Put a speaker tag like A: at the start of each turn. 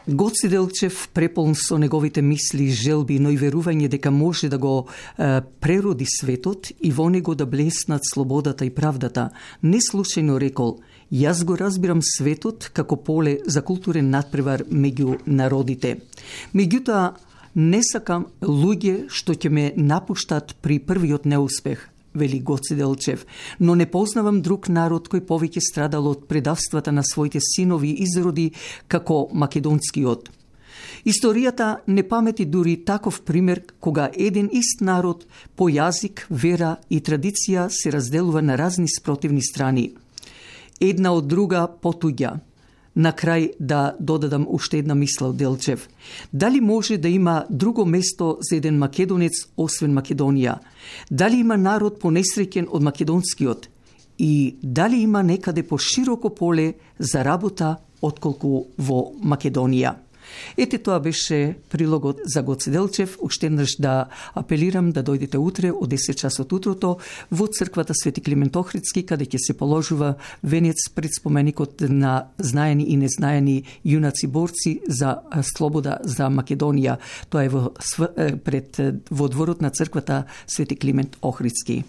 A: Гоце Делчев, преполн со неговите мисли и желби, но и верување дека може да го прероди светот и во него да блеснат слободата и правдата, не случајно рекол: "Јас го разбирам светот како поле за културен надпревар меѓу народите. Меѓутоа, не сакам луѓе што ќе ме напуштат при првиот неуспех", вели Гоце Делчев, "но не познавам друг народ кој повеќе страдал од предавствата на своите синови и изроди како македонскиот. Историјата не памети дури таков пример кога еден ист народ по јазик, вера и традиција се разделува на разни спротивни страни. Една од друга потуѓа." На крај да додадам уште една мисла од Делчев. Дали може да има друго место за еден македонец освен Македонија? Дали има народ понесреќен од македонскиот? И дали има некаде пошироко поле за работа отколку во Македонија? Ете, тоа беше прилогот за Гоце Делчев. Уште еднаш да апелирам да дојдете утре од 10 часот утрото во црквата Свети Климент Охридски, каде ќе се положува венец пред споменикот на знаени и незнаени јунаци борци за слобода за Македонија. Тоа е во дворот на црквата Свети Климент Охридски.